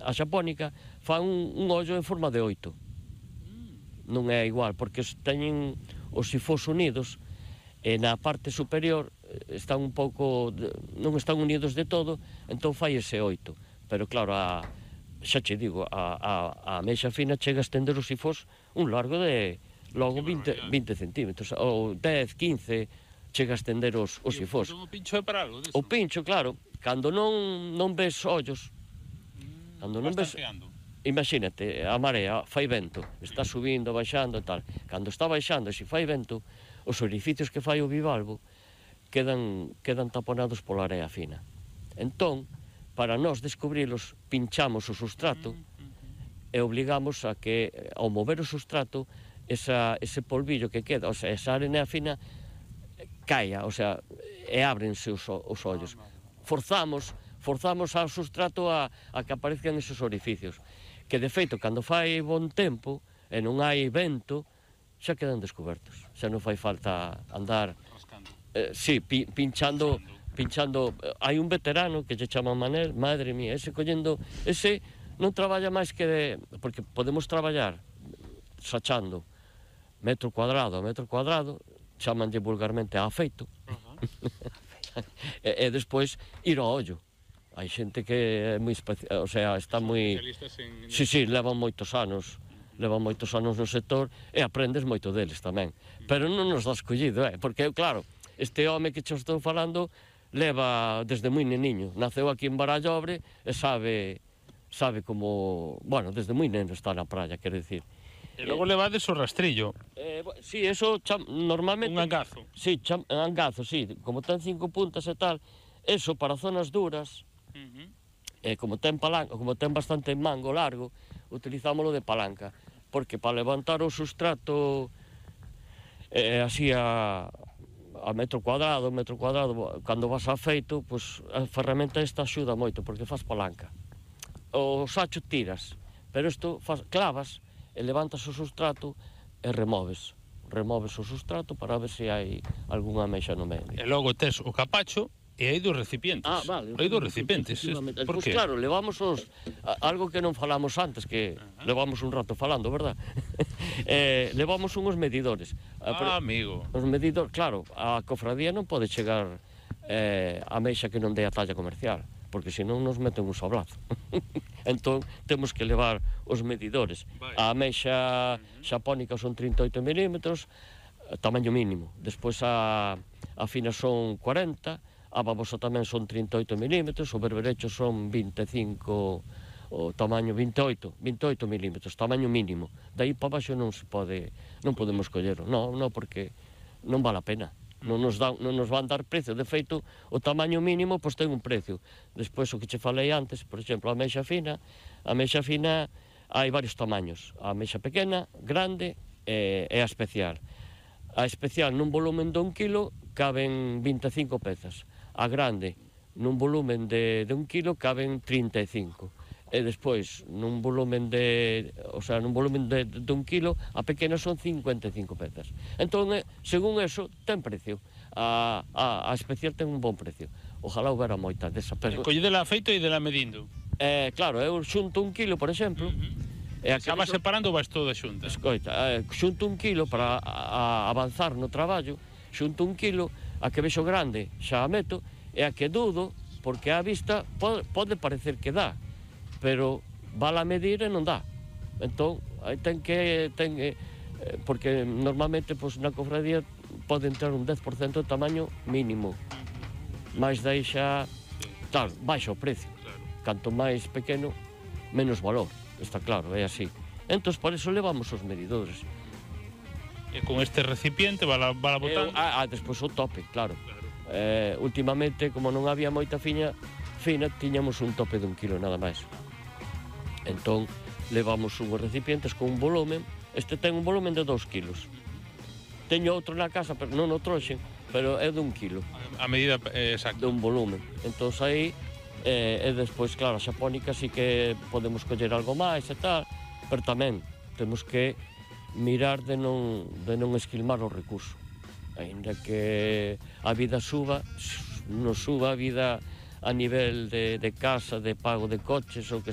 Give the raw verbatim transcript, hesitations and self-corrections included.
a xapónica fan un, un ollo en forma de oito. Non é igual, porque teñen os sifós unidos e na parte superior están un pouco, non están unidos de todo, entón fai ese oito. Pero claro, a, xa che digo, a, a, a ameixa fina chega a estender os sifós un largo de logo vinte centímetros, ou dez, quince, chega a estender os, os sifós. O pincho é para algo disso? O pincho, claro, cando non, non ves ollos, cando non ves... Imagínate, a marea fai vento, está subindo, baixando e tal. Cando está baixando, se fai vento, os orificios que fai o bivalvo quedan, quedan taponados pola area fina. Entón, para nós descubrilos, pinchamos o sustrato e obligamos a que, ao mover o sustrato, esa, ese polvillo que queda, o sea, esa arena fina, caia, o sea, e ábrense os, os ollos. Forzamos, forzamos ao sustrato a, a que aparezcan esos orificios, que de feito, cando fai bon tempo e non hai vento, xa quedan descobertos. Xa non fai falta andar... Eh, sí, pi, pinchando, pinchando... Hai un veterano que lle chama Manel, madre mía, ese collendo... Ese non traballa máis que de... Porque podemos traballar sachando metro cuadrado a metro cuadrado, chamanlle vulgarmente a afeito, e, e despois ir ao ollo. Hai xente que é moi especial, o sea, está moi... En... Sí, sí, levan moitos anos, levan moitos anos no sector e aprendes moito deles tamén. Pero non nos dá escollido, eh? Porque, claro, este home que che estou falando leva desde moi neniño, naceu aquí en Barallobre e sabe, sabe como... Bueno, desde moi neno está na praia, quero dicir. E logo levades o rastrillo. Eh, sí, eso cham, normalmente... Un angazo. Sí, cham, angazo, sí, como ten cinco puntas e tal, eso para zonas duras, uh-huh. eh, como ten palanca, como ten bastante mango largo, utilizámoslo de palanca, porque para levantar o sustrato eh, así a, a metro cuadrado, metro cuadrado, cando vas a feito, pues, a ferramenta esta axuda moito, porque faz palanca. O sacho tiras, pero isto faz, clavas, e levantas o sustrato e removes. Removes o sustrato para ver se hai algunha ameixa no medio. E logo tes o capacho e hai dos recipientes. Ah, vale. Hai dos recipientes. Por pues claro, levamos os... Algo que non falamos antes, que uh-huh. levamos un rato falando, verdad? eh, levamos unhos medidores. Ah, amigo. Os medidores, claro, a cofradía non pode chegar eh, a ameixa que non dé a talla comercial, porque senón nos meten un sablazo. Entón, temos que levar os medidores. A ameixa xapónica son trinta e oito milímetros, tamaño mínimo. Despois a, a fina son cuarenta, a babosa tamén son trinta e oito milímetros, o berberecho son vinte e cinco, o tamaño vinte e oito, vinte e oito milímetros, tamaño mínimo. Daí para baixo non se pode, non podemos collero. Non, non, porque non vale a pena. Non nos, dan, non nos van dar precio. De feito, o tamaño mínimo pois ten un precio. Despois, o que che falei antes, por exemplo, a ameixa fina, a ameixa fina hai varios tamaños. A ameixa pequena, grande e, e a especial. A especial nun volumen de un kilo caben vinte e cinco pezas. A grande nun volumen de, de un kilo caben trinta e cinco. E despois, nun volumen de, o sea, nun volumen de, de un kilo, a pequena son cincuenta e cinco pezas. Entón, según eso, ten precio. A, a, a especial ten un bon precio. Ojalá houbera moita desa. Pero... Collidela a feito e dela medindo. Eh, claro, eu xunto un kilo, por exemplo, uh-huh. e acabas eso... separando ou vas toda xunta? Escoita, eh, xunto un kilo para a, a avanzar no traballo, xunto un kilo, a que vexo grande xa a meto, e a que dudo, porque a vista pode, pode parecer que dá, pero vala a medir e non dá. Entón, aí ten que... Ten, eh, porque normalmente pues, na cofradía pode entrar un dez por cento de tamaño mínimo. Mais daí xa... Claro, baixa o precio. Canto máis pequeno, menos valor. Está claro, é así. Entón, por eso levamos os medidores. E con este recipiente vala, vala botando? Ah, ah, despois o tope, claro. claro. Eh, últimamente, como non había moita fiña, fina, tiñamos un tope de un kilo nada máis. Entón, levamos unhos recipientes con un volumen. Este ten un volumen de dous kilos. Teño outro na casa, pero non o trouxen, pero é de un kilo. A medida eh, exacta. De un volumen. Entón, aí, eh, e despois, claro, a xapónica sí que podemos coller algo máis e tal, pero tamén temos que mirar de non, de non esquilmar o recurso. Ainda que a vida suba, non suba a vida a nivel de, de casa, de pago de coches ou que